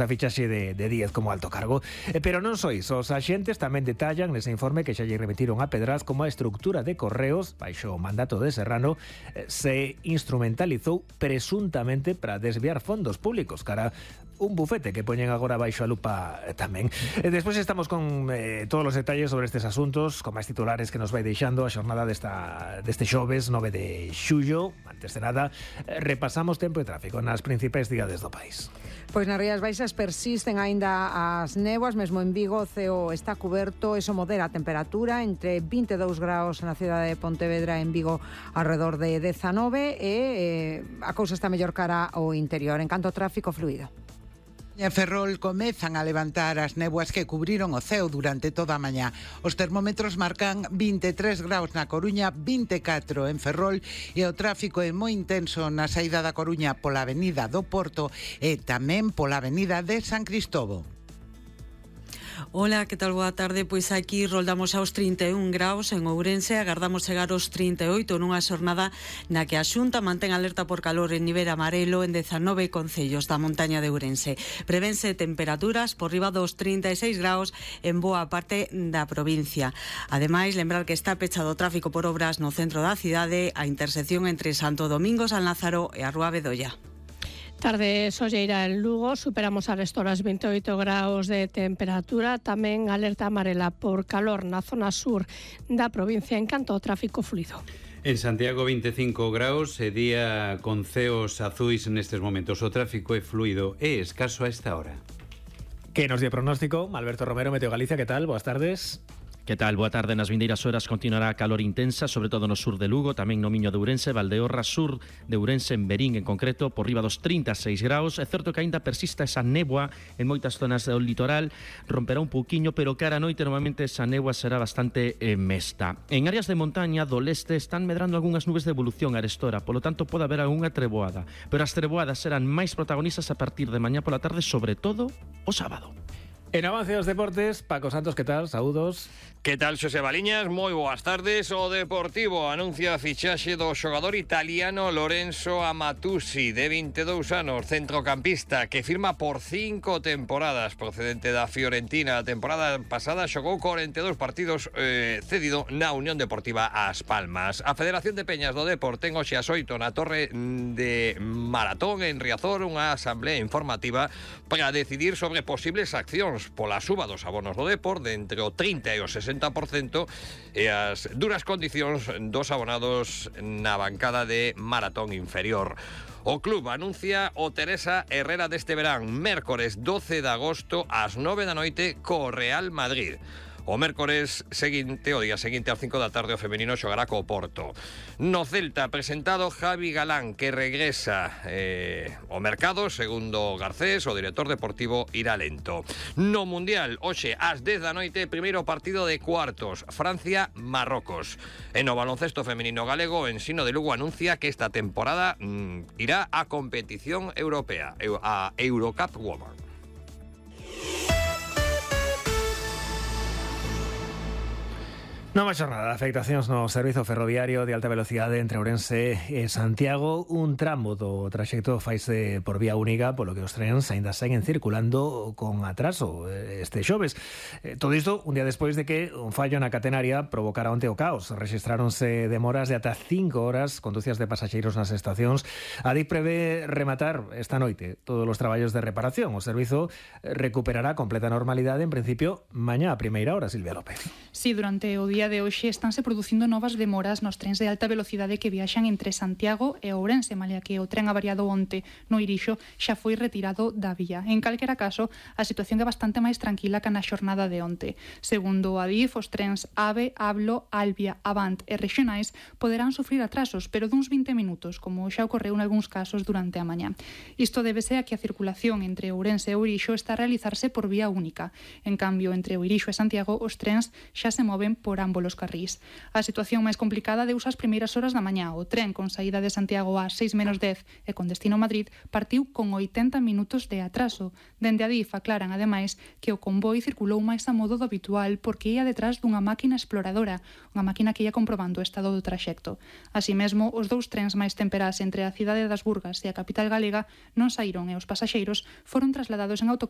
a fichaxe de Díez como alto cargo. Pero non só iso, os axentes tamén detallan nese informe que xa lle remitiron a Pedraz como a estructura de Correos, baixo o mandato de Serrano, se instrumentalizou presuntamente para desviar fondos públicos cara un bufete que poñen agora baixo a lupa tamén. Despois estamos con todos os detalles sobre estes asuntos, con máis titulares que nos vai deixando a xornada deste xoves 9 de xullo. Antes de nada, repasamos tempo e tráfico nas principais cidades do país. Pois nas Rías Baixas persisten aínda as néboas, mesmo en Vigo o ceo está cuberto, eso modera a temperatura entre 22 graus na cidade de Pontevedra, en Vigo alrededor de 19 e a cousa está mellor cara ao interior. En canto ao tráfico fluido. En Ferrol comezan a levantar as néboas que cubriron o ceo durante toda a mañá. Os termómetros marcan 23 graus na Coruña, 24 en Ferrol e o tráfico é moi intenso na saída da Coruña pola avenida do Porto e tamén pola avenida de San Cristobo. Hola, que tal? Boa tarde. Pois aquí roldamos aos 31 graus en Ourense, agardamos chegar aos 38 nunha xornada na que a Xunta mantén alerta por calor en nivel amarelo en 19 concellos da montaña de Ourense. Prevense temperaturas por riba dos 36 graus en boa parte da provincia. Ademais, lembrar que está pechado o tráfico por obras no centro da cidade, a intersección entre Santo Domingo, San Lázaro e a Rúa Bedolla. Tarde solleira en Lugo, superamos as horas 28 graus de temperatura, tamén alerta amarela por calor na zona sur da provincia en canto ao tráfico fluido. En Santiago 25 graus e día con ceos azuis nestes momentos. O tráfico é fluido e escaso a esta hora. Que nos di pronóstico? Alberto Romero, Meteo Galicia, que tal? Boas tardes. Que tal? Boa tarde. Nas vindeiras horas continuará a calor intensa, sobre todo no sur de Lugo, tamén no Miño de Ourense, Valdeorras, sur de Ourense, en Berín en concreto, por riba dos 36 graus. É certo que aínda persista esa néboa en moitas zonas do litoral, romperá un pouquiño, pero cara a noite normalmente esa néboa será bastante mesta. En áreas de montaña do leste están medrando algunhas nubes de evolución arestora, polo tanto pode haber algunha treboada, pero as treboadas serán máis protagonistas a partir de mañá pola tarde, sobre todo o sábado. En avance dos deportes, Paco Santos, que tal? Saúdos. Que tal, Xosé Baliñas? Moi boas tardes. O Deportivo anuncia a fichaxe do xogador italiano Lorenzo Amatuzzi, de 22 anos, centrocampista, que firma por 5 temporadas, procedente da Fiorentina. A temporada pasada xogou 42 partidos cedido na Unión Deportiva As Palmas. A Federación de Peñas do Depor ten hoxe ás 8 na Torre de Maratón en Riazor unha asamblea informativa para decidir sobre posibles accións pola suba dos abonos do Depor de entre o 30 e o 60% e as duras condicións dos abonados na bancada de Maratón inferior. O club anuncia o Teresa Herrera deste verán, mércores 12 de agosto ás 9 da noite co Real Madrid. O mércores seguinte, o día seguinte ás 5 da tarde, o femenino xogará co Porto. No Celta, presentado Javi Galán, que regresa ao mercado, segundo Garcés, o director deportivo irá lento. No Mundial, hoxe ás 10 da noite, primeiro partido de cuartos, Francia-Marrocos. En o baloncesto femenino galego, o Ensino de Lugo anuncia que esta temporada irá a competición europea, a Eurocup Women. Nova xornada de afectacións no servizo ferroviario de alta velocidade entre Ourense e Santiago. Un tramo do traxecto faise por vía única, polo que os trens aínda seguen circulando con atraso este xoves. Todo isto un día despois de que un fallo na catenaria provocara onte o caos. Rexistráronse demoras de ata 5 horas conducidas de pasaxeiros nas estacións. A DIF prevé rematar esta noite todos os traballos de reparación. O servizo recuperará completa normalidade en principio mañá a primeira hora. Silvia López. Sí, durante o día de hoxe estánse producindo novas demoras nos trens de alta velocidade que viaxan entre Santiago e Ourense, malia que o tren avariado onte no Irixo xa foi retirado da vía. En calquera caso, a situación é bastante máis tranquila que na xornada de onte. Segundo a DIF, os trens AVE, Ablo, Albia, Avant e Rexionais poderán sufrir atrasos, pero duns 20 minutos, como xa ocorreu en algúns casos durante a mañá. Isto débese a que a circulación entre Ourense e Irixo está a realizarse por vía única. En cambio, entre o Irixo e Santiago, os trens xa se moven por ambos ambos os carrís. A situación máis complicada deuse ás primeiras horas da mañá. O tren con saída de Santiago ás 6:10 e con destino a Madrid partiu con 80 minutos de atraso. Dende Adif aclaran, ademais, que o convoi circulou máis a modo do habitual porque ia detrás dunha máquina exploradora, unha máquina que ia comprobando o estado do traxecto. Así mesmo, os dous trens máis temperás entre a cidade das Burgas e a capital galega non saíron e os pasaxeiros foron trasladados en autocar